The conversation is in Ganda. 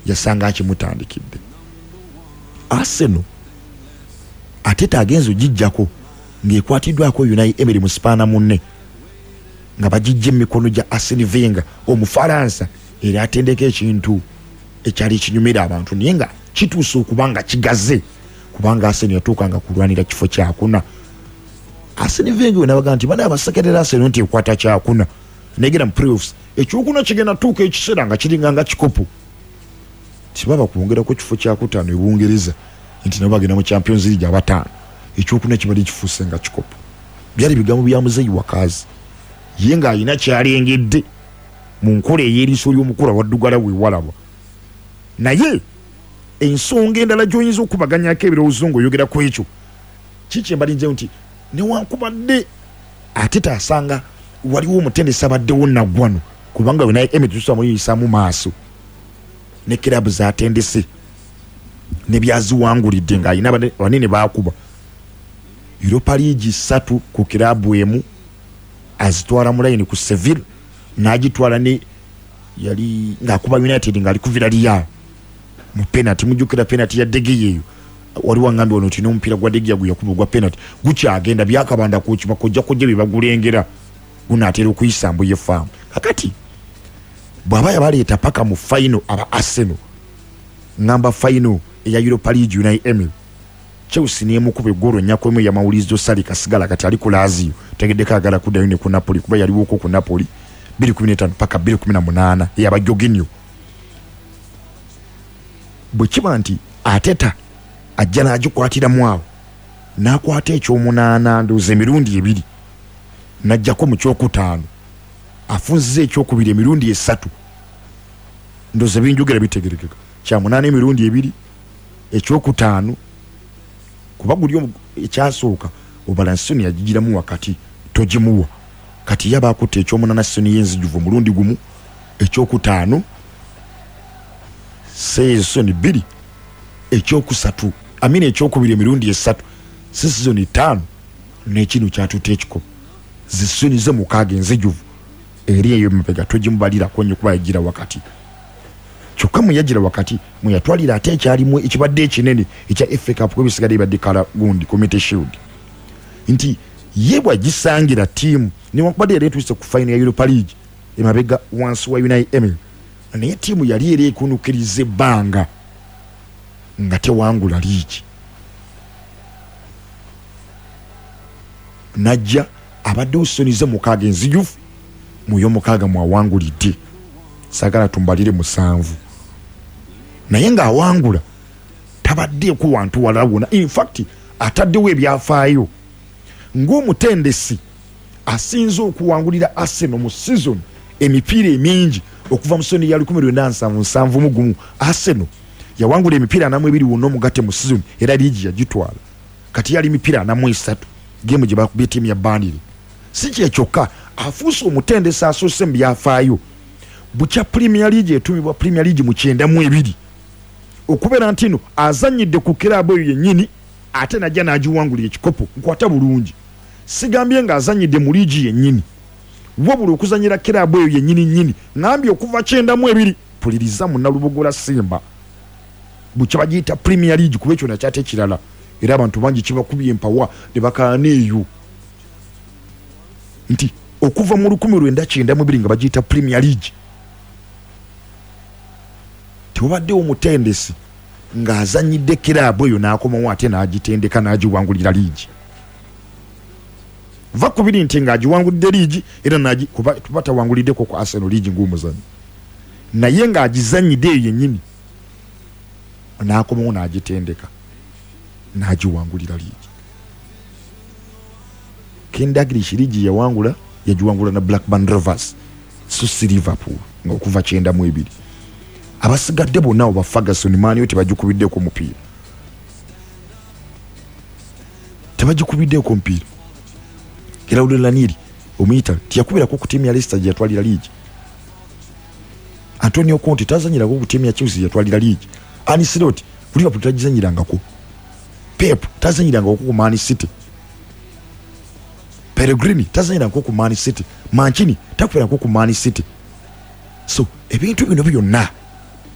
Yasanga akimutandikidde Arsenal. Arteta agenze ogijjako ng'ekwatiddwako Unai Emery mu sipaana munne, nga bagijja emikono gya Arsene Wenger Omufalansa, era atendeka ekintu ekyali kinyumira abantu, naye nga kituuse okuba nga kigaze, kubanga Arsenal yatuuka nga kulwanira kifo kyakuna. Arsene Wenger we nabaga nti bana abasekerera Arsenal nti ekwata kyakuna negenda mu playoffs, ekyokuna kigenda tuuka ekiseera nga kiringa nga kikopo, tibaba kwongerako kifo kyakutaano e Bungereza nti nabo bagenda mu Champions League abataano, ekyokuna kibadde kifuuse nga kikopo. Byali bigambo bya muzeeyi Wakazi, ye ng'alina kyalengedde mu nkola ey'eriiso ly'omukulu awaddugala weewalaba. Naye ensonga endala gy'oyinza okubaganyako ebirowoozo ng'oyogera ku ekyo kikyembalinzeyo nti newankubadde ate taasanga waliwo omutendesi abaddewo naggwano, kubanga we naye Emery tusobola muyisaamu maaso ne kiraabu zatendese ne byaziwangulidde, ng'alina banene baakuba Europa League 3 ku kiraabu emu, azitwala mu layini ku Seville, n'agitwala ne yali ng'akuba United ng'ali ku Villarreal mu penalty. Mujjukira penalty ya De Gea eyo? Waliwo angambye wano nti n'omupiira gwa De Gea gwe yakuba ogwa penalty gukyagenda byakabanda kuki bakojja kojja bye bagulengera, gunaatera okuyisa mbuye faamu. Kakati bw'aba yabaleeta paka mu final aba Arsenal, ngamba final eya Europa League, Unai Emery Chelsea nemukuba eggolo 4-1 ya Maurizio Sarri. Kasigala kati ali ku Lazio, tegeddeko agala kuddayo ne ku Napoli, kuba yaliwoko ku Napoli 2015 paka 2018 eyaba Jorginho. Bwe kiba nti Arteta ajja n'agikwatiramu awo n'akwata ekyomunaana, ndowooza emirundi ebiri, n'ajjako mu kyokutaano, afunziza ekyokubiri emirundi esatu, ndowooza binjogera bitegerekeka, kyamunaana emirundi ebiri, ekyokutaano, kuba guli ekyasooka obala season yagigiramu wakati togimuwa. Kati yaba akutte ekyomunaana season y'enzijuvu omulundi gumu, ekyokutaano season 2, ekyokusatu amina ekyokubiri emirundi esatu, si season 5, n'ekino kyatutte ekikopo zi season ze 6 enzijuvu. Eri eyo emabega togimubalirako nnyo kuba yagira wakati. Kyokka mwe yagira wakati mweyatwalira ate ekyalimu ekibadde ekinene ekya FA Cup, kuba ebisigadde bibadde kala gundi Community Shield, nti ye bwagisangira ttiimu newankubadde yali etuuse ku final ya Europa League emabega wansi wa Unai Emery, naye ttiimu yali era ekunukiriza ebbanga nga tewangula liigi, najja abaddewo season ze 6 enzijuvu, muyo 6 mwawangulidde. Saagala tumbalire 7, naye ng'awangula tabaddeeko wantu walala wonna. Infact ataddewo ebyafaayo ng'omutendesi asinze okuwangulira Arsenal mu season emipiira emingi okuva mu season ya 1971. Arsenal yawangula emipiira 42 wonna omugatte mu season, era liigi yagitwala. Kati yali mipiira 43, game gye bakubye ttiimu ya Burnley. Si kyekyokka, afuuse omutendesi asoose mu byafaayo bukya Premier League etumibwa Premier League mu 92 okubeera nti no azannyidde ku kiraabu eyo yennyini ate najja n'agiwangulira ekikopo. Nkwata bulungi, sigambye ng'azannyidde mu liigi yennyini, wabula okuzannyira kiraabu eyo yennyini nnyini. Ŋambye okuva 92. Puliriza munnalubogola Simba, bukya bagiyita Premier League, kuba ekyo nakyate kirala era abantu bangi kibakubye empawa ne bakaana eyo nti okuva mu 1992 nga bagiyita Premier League tewabaddewo omutendesi ng'azannyidde kiraabu eyo n'akomawo ate n'agitendeka n'agiwangulira liigi. Va kubiri nti ng'agiwangulidde liigi era kuba tawanguliddeko ku Arsenal liigi ng'omuzannyi, naye ng'agizannyidde eyo yennyini n'akomawo n'agitendeka n'agiwangulira liigi. Ken Dalglish liigi yawangula, yagiwangula na Blackburn Rovers, so si Liverpool, nga okuva 92. Abasigadde bonna abo ba Ferguson, Man U, tebagikubiddeko mupiira, tebagikubiddeeko mupiira. Claudio Ranieri omuyita tiyakubirako ku ttiimu ya Leicester gye yatwalira liigi. Antonio Conte tazanyirako ku ttiimu ya Chelsea yatwalira liigi. Ancelotti ku Liverpool tagizanyirangako. Pep tazanyirangako ku Man City. Pellegrini tazanyirangako ku Man City. Mancini takubirako ku Man City. So ebintu bino byonna